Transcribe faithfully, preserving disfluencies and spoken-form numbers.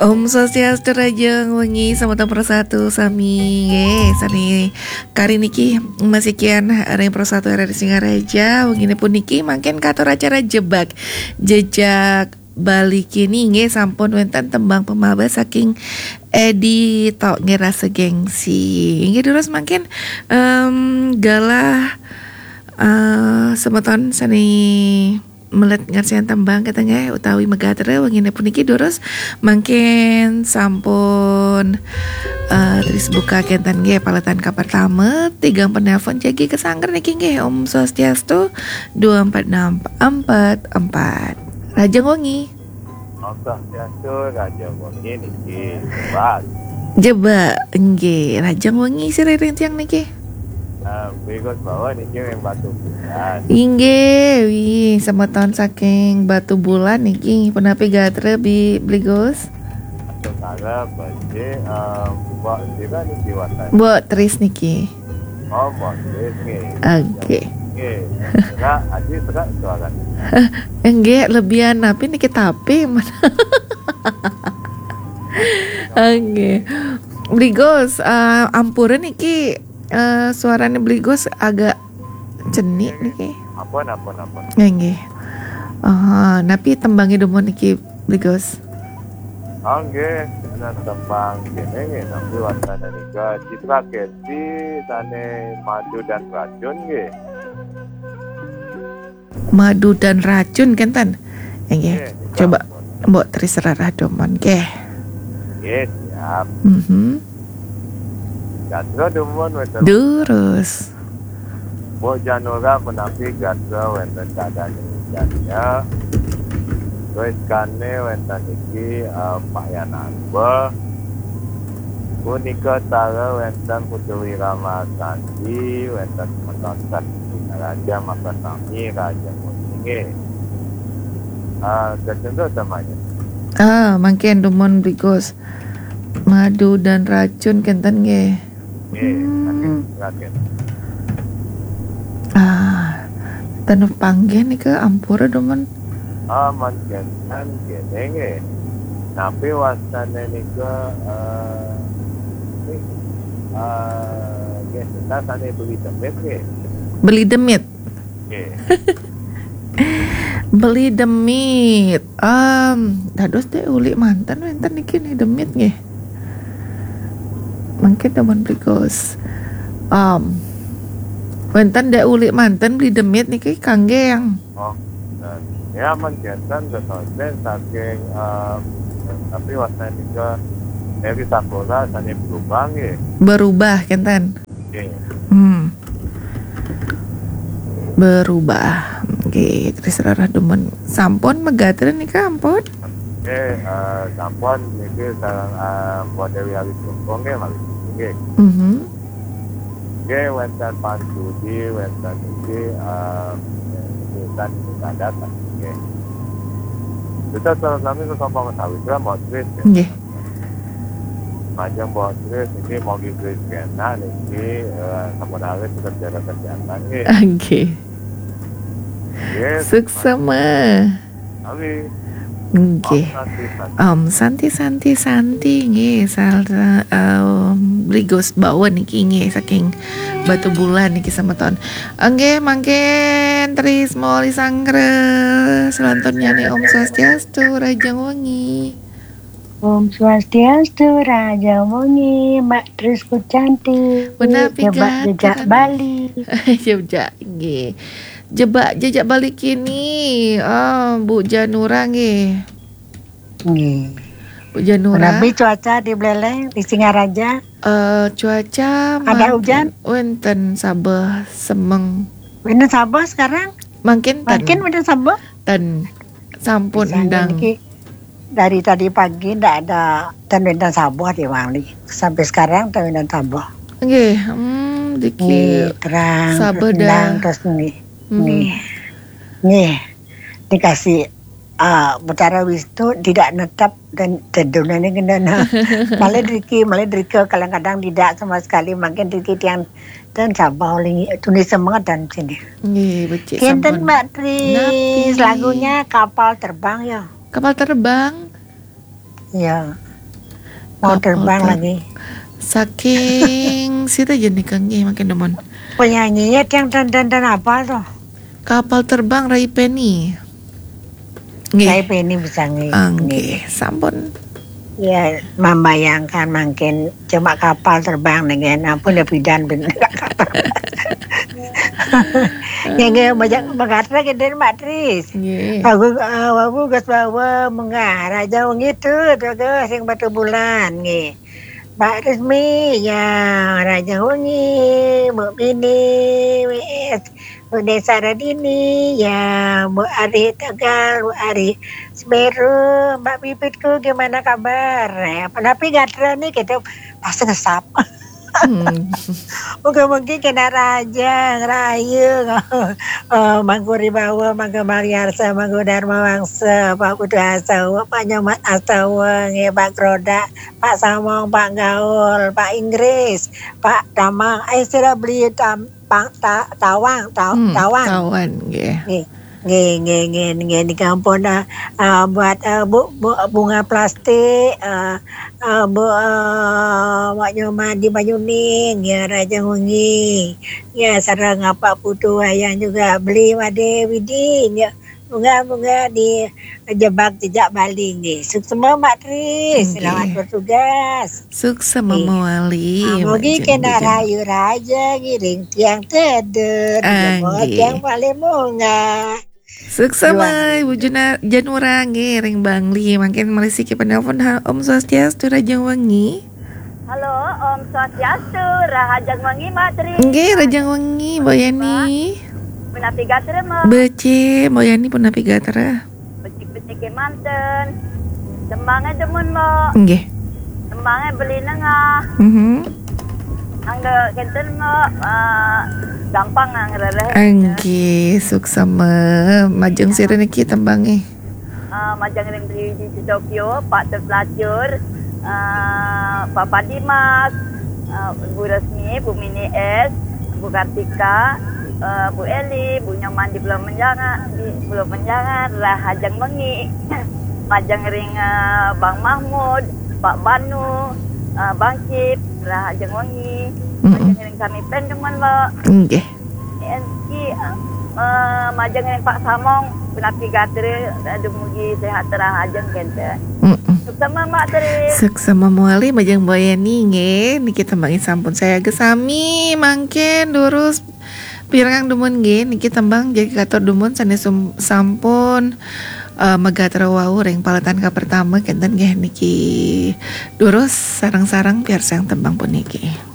Om Swastiastu, rahajeng wengi semeton Persatu sami nggih. Sami kari niki masikian ring Persatu R R I Singaraja. Wengine puniki mangkin katur acara Jebak Jejak Bali kini nggih, sampun wenten tembang pemawas saking Edi Tok nggih, Rasa Gengsi. Inggih, terus mangkin em, galah eh, semeton sane melet ngersian tembang kata nggih utawi megatra wengine puniki, durus mangkin sampun eh, terus buka kenten nggih paletan kapertama, tigang penelpon jagi kesangker niki nggih. Om Swastiastu, dua empat enam empat empat. Rahajeng wengi. Om Swastiastu, rahajeng wengi niki. Jebak. Jebak nggih, rahajeng wengi sira ring tiang niki. Ah, Bli Gus Bawa niki ring Batubulan. Inggih, wih, semeton saking Batubulan niki. Punapi gatra, Bi, Bli Gus? Sengara, Beli, eh, Mbok sira niki wastane? Mbok Tris niki. Oh, Mbok Tris nggih. Oke. Nggih. Serak, Aji serak suarane. Nggih, lebihan napi niki tapi. Oke. Bli Gus, eh, ampura niki eh, suarane Bli Gus agak cenik niki. Ampun, ampun, ampun. Nggih, nggih. Ah, napi tembange dumun niki, Bli Gus? Ah, nggih, ana tembang kene nggih, napi wastane nika Citra Keti sane Madu dan Racun nggih. Madu dan Racun kenten. Nggih, nggih, coba ampun. Mbok Tris rarah dumun nggih. Nggih, siap. Mhm. Gatra dumun wenten. Durus. Mbok Janura punapi gatra wenten keadaan jadinya. Terus kane wenten iki, eh, Pak Yanarba. Punika tara wenten Putu Wiramasandi, wenten semeton Singaraja, maka sami raja nggih. Ah, kecentuk temanya. Ah, mangkin dumun Bli Gus. Madu dan Racun kenten nggih. Nggih, Hmm. Raden. Ah, ten panggih nika ampura dumun. Ah, mangkin kene nggih. Napi wastane nika, eh, nggih, eh, nggih, kita sane Beli Demit nggih. Beli Demit. Nggih. Beli Demit. Em, dados Dek Uli manten wenten niki nih Demit nggih. Mangkin dumun Bli Gus. Em, wenten Dek Uli manten Beli Demit niki kangge yang. Oh, nah, ya, mangkin ketonten saking, em, tapi wastane nika Eri Sakura sane berubah nggih. Berubah kenten. Nggih. Hmm. Berubah. Nggih, Tris rarah dumun. Sampun megatra nika ampun? Nggih, eh, sampun niki sareng, eh, Mbok Dewi Alis Lungkung nggih, malih nggih. Mhm. Nggih, wenten Pan Sudi, wenten niki, eh, niki kan niki kadat nggih. Kita salam sami ke Kompong Sawitra, Mbok Tris, nggih. Nggih. Majeng Mbok Tris niki, mogi Tris kena niki, eh, sampun alit tetep jaga kesehatan nggih. Nggih. Nggih. Suksema. Sami. Nggih. Om Santi, Santi, Santi, nggih, sareng, em, Bli Gus Bawa niki nggih saking Batubulan niki semeton. Nggih, mangkin Tris Moli Sanggra selanturnya nih, Om Swastiastu, rahajeng wengi. Om Swastiastu, rahajeng wengi, Mbak Tris Kucanti. Punapi Jebak gatra? Jejak Bali. Jejak, nggih. Jebak Jejak Bali kini, ah, Bu Janura nggih. Nggih. Bu Janura. Punapi cuaca di Buleleng, di Singaraja? Eh, cuaca ada mangkin hujan? Wenten sabeh semeng. Wenten sabeh sekarang? Mangkin ten. Mangkin wenten sabeh? Ten. Sampun. Bisa endang. Niki dari tadi pagi ndak ada ten wenten sabeh di Bali. Sampai sekarang ten wenten sabeh. Nggih, hmm, diki nggih, terang, sabeh terus endang, dah. Terus nggih. Mhm. Nggih. Nggih. Dikasih, ah, Betara Wisnu tidak netap dan tedunane kendana. Malah driki, malah drika kadang-kadang tidak sama sekali, mangkin driki tiang dan sabeh oleh tuni semangat dan sini. Nggih, becik. Kenten sampun. Mbak Tri, napi? Lagunya Kapal Terbang ya. Kapal Terbang? Ya. Mau terbang lagi. Saking sida aja nih, Kang, nggih, makin demen. Penyanyinya yang dan dan dan apa tuh? Kapal Terbang, Ray Penny. Nggih. Ray Penny bisa nggih. Ah, nggih, sampun. Ya, membayangkan mungkin cuma kapal terbang dengan ampun ya bidan ben. Ya nggih, banyak mengatra gede Mbak Tris. Nggih. Bagus, eh, bagus bahwa mengarah jauh gitu, tuh, tuh, sing batu bulan nggih. Mbak Resmi, ya, Raja Wengi, Mbak Mini, W S, Mbak Desa Radini, ya, Mbak Ari Tegal, Mbak Ari Semeru, Mbak Pipitku, gimana kabar? Ya, tapi gatra nih kita pas ngesap. Hmm. Moga-moga kena raja, ngerayu, eh, Mangku Ribawa, Mangku Mariarsa, Mangku Dharma Wangsa, Pak Putu Asawa, Pak Nyoman Asawa, nggih, Pak Kroda, Pak Samong, Pak Gaul, Pak Inggris, Pak Damang, eh, sudah beli tam, pang, ta, tawang, ta, Hmm, tawang. Tawang, nggih. Nggih, nggih, nggih, nggih, nggih, niki ampun, eh, eh, buat, eh, bu, bu, bunga plastik, eh, eh, bu, eh, Wak Nyoman di Banyuning, ya, Raja Wengi, ya, sareng Pak Putu Wayang juga beli Wade Widi, ya, bunga-bunga di jebak jejak Bali, nggih. Suksema, Mbak Tri, nggih. Selamat bertugas. Suksema mawali, ah, mugi Mak kena Jeng Bujang. Rayu raja ngiring tiang teder, ah, jempol nggih. Tiang paling munga. Suksema, luar Ibu Juna-, Janura, nggih, ring Bangli. Mangkin malih siki penelpon, ha, Om Swastiastu, Rahajeng Wengi. Halo, Om Swastiastu, Rahajeng Wengi, Mbak Tri. Nggih, Rahajeng Wengi, Mbak Yani. Punapi gatra, Mbak? Becik, Mbak Yani, punapi gatra? Becik-becik kemanten. Tembangnya demen, Mbak. Nggih. Tembangnya beli nengah. Mhm. Angga kenten, Mbak. Eh, gampang angga rereh. Nggih, suksema. Majeng sira niki tembangnya. Eh, majeng ring Tri Widi di Tokyo, Pak Tut Lacur, eh, Papa Dimas, eh, Bu Resmi, Bu Mini S, Bu Kartika, eh, Bu Eli, Bu Nyoman di Pulau Menjangan, di Pulau Menjangan, Rahajeng Wengi. Majeng ring, eh, Bang Mahmud, Pak Banu, eh, Bang Cip, Rahajeng Wengi. Mm-mm. Majeng ring kami pen demen, Mbak. Nggih. Enki, eh, majeng ring Pak Samong, punapi gatra, dumugi sehat rahajeng kenten. Mm-mm. Suksema, Mbak Tri. Suksema mawali, majeng Mbak Yani, nggih. Niki tembangnya sampun sayaga sami, mangkin durus pirengang dumun, nggih. Niki tembang jagi katur dumun sané sum-, sampun, eh, magatra wau ring paletan kapertama kenten, nggih. Niki durus sareng-sareng piarsayang tembang puniki.